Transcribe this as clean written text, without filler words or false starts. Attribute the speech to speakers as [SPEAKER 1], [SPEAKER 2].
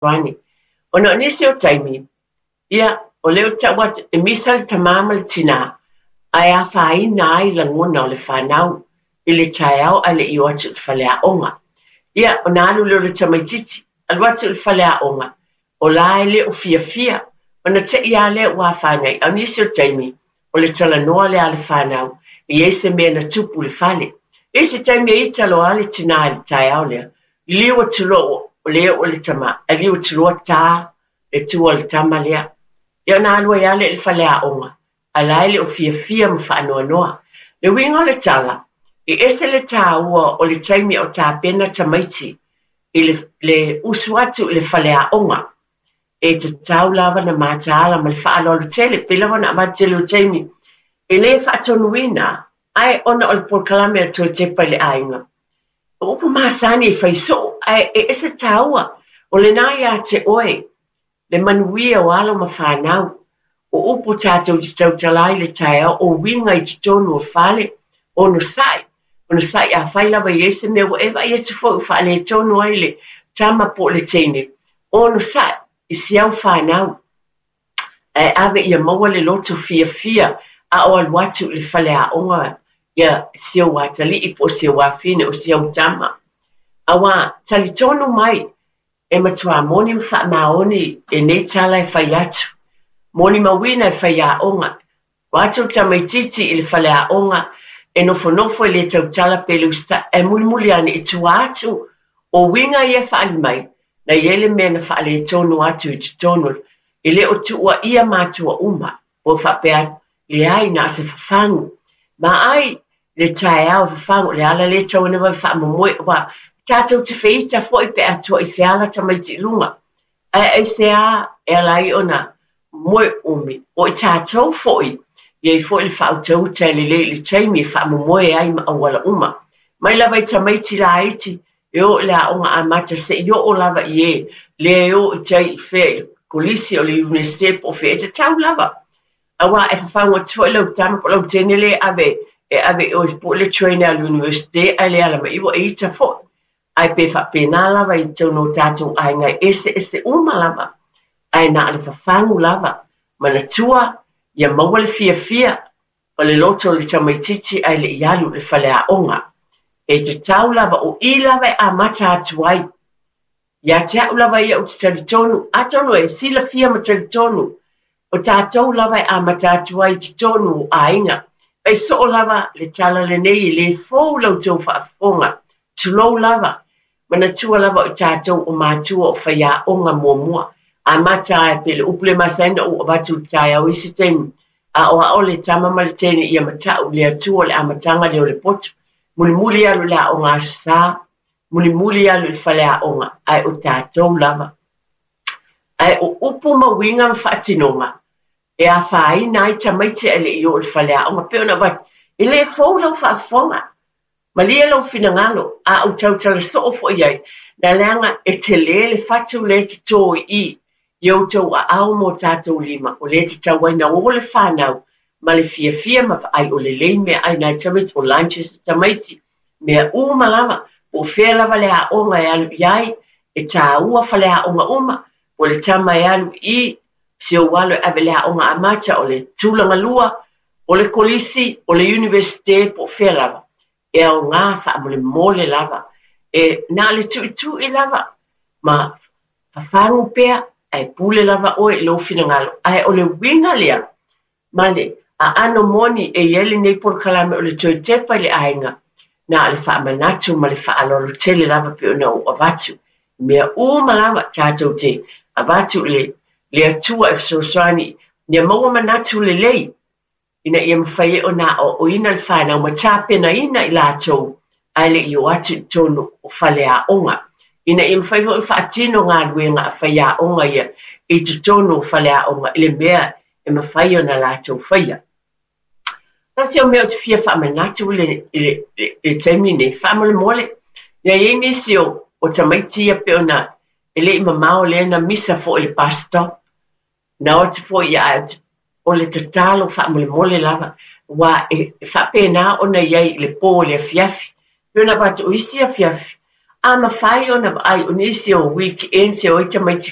[SPEAKER 1] Fesoasoani. Ona o nisi o taimi, ia, o lea ou te tau atu, e misa le tamā ma le tinā, ae afaina ai lagona o le fanau i le taeao ae le i o atu i le faleaoga. Ia, ona alu lea o le tamaitiiti, alu atu i le faleaoga, o la e le o fiafia, ona te i lava lea ua afaina ai. A o nisi o taimi, o le talanoa lea a le fanau, e i ai se mea na tupu i le fale. I isi taimi e ita loa le tinā i le taeao lea, liliu atu loa ua le oo le tama, ae liliu atu loa ta le tua o le tama lea. Ia ona alu ai lava lea i le faleaoga, a o la e le o fiafia ma faanoanoa. Le uiga o le tala, e ese le taua o le taimi a o tapena tamaiti i le, le usu atu i le faleaoga. E tatau lava ona mataala ma le faaaloalo tele, pei lava ona avatu tele o taimi e le faatonuina, ae ona o le polokalame a le Toe Tepa i le Aiga. O upu masani e fai soo, ae e ese taua, o lena ia te oe le manuia o alo ma fanau. O upu tatou te tautala ai i le taeao, o uiga i totonu o fale, onosai, onosai afai lava e i ai se mea ua e vaai atu foi ua faaletonu ai le tama po o le teine, onosai i si au fanau. Ae ave ia maua le loto fiafia a o alu atu i le faleaoga ia si ou atalii po o si ou afine o si au tama. Auā, talitonu mai, e matuā moni ma faamaoni lenei tala e fai atu. Molimauina e faiaoga, O atu le tamaitiiti i le faleaoga e nofonofo e le tautala pe le usitai, ae mulimuli ane i tua atu o uiga ia e faaali mai, na i ai le mea na faaletonu atu i totonu o le, e le o tuuaia matua uma, po o faapea atu, leai, na o se fafagu. Ma ai le taeao e fafagu, o le ala lea e tatau ai ona vave faamomoe, aua tatou te feita foi pe a toa i feala tamaiti i luga. Ae aisea e ala ai ona moe umi, o i tatou foi, i ai foi le faautauta e lelei i le taimi e faamomoe ai ma auala uma. Mai lava i tamaiti laiti e o i le aoga amata seia oo lava i e lea e o i tai i fea i le kolisi o le Iunivesite po o fea, e tatau lava. Aua e fafagu atu foi lau tama po o lau teine lea e ave e ave i o po o le train a le Iunivesite ae le ala mai ua e ita foi. Ae pe faapena lava i totonu o tatou aiga e eseese uma lava, ae na o le fafagu lava, manatua ia maua le fiafia o le loto o le tamaitiiti ae le i alu i le faleaoga. E tatau lava, o i lava e amata atu ai. Ia te au lava ia ou te talitonu, atonu e silafia ma talitonu, o tatou lava e amata atu ai i totonu o aiga. Fai soo lava le tala lenei e le fou la outou faafofoga, tulou lava, manatua lava o tatou o matua o faiaoga muamua. Amata ai pei le upu le masani ona ou avatu i le taeao i isi taimi, aoao le tama ma le teine ia matau i le Atua o le amataga lea o le poto. Mulimuli alu i le aoga Aso Sa, mulimuli alu i le faleaoga, ae o tatou lava. Ae o upu ma uiga ma faatinoga e afaina ai tamaiti ae le i oo i le faleaoga, pei ona avatu, e le fou lau faafofoga, malie lou finagalo, a ou tautala soo foi i ai, na leaga e tele le fatu lea e toto i i i outou aao ma o tatou lima, o lea e tatau ai ona o le fanau ma le fiafia ma vaai o lelei meaai nai tamaiti, o lunches a tamaiti, mea uma lava, po o fea lava le aoga e alu i ai, e taua faleaoga uma, po o le tama e alu i si ou alo e ave i le aoga amata, o le tulaga lua, o le kolisi, o le Iunivesite, po o fea lava, e aoga faamolemole lava, e na o le tuitui lava ma fafagu pea, ae pule lava oe i lou finagalo. Ae o le uiga lea, ma le aano moni e i ai lenei polokalame o le toe tepa i le aiga, na o le faamanatu ma le faaaloalo tele lava pei ona ou avatu. I mea uma lava tatou te avatu i le le Atua e fesoasoani ia maua manatu lelei ina ia mafai ai ona aoaoina le fanau ma tapenaina i latou ae le i o atu i totonu o faleaoga, ina ia mafai foi ona faatino galuega a faiaoga ia i totonu o faleaoga i le mea e mafai ona latou faia. Tasi o mea ou te fia faamanatu i le, i le, i le taimi nei, faamolemole, ia i ai nisi o, o tamaiti ia pei ona e le i mamao lea na misa foi i le bus stop, Na o atu foi ia ae o le tatalo faamolemole lava, aua e faapena ona i ai i le po i le afiafi. Pei ona avatu o isi afiafi, A mafai ona vaai o nisi o weekends e o ai tamaiti.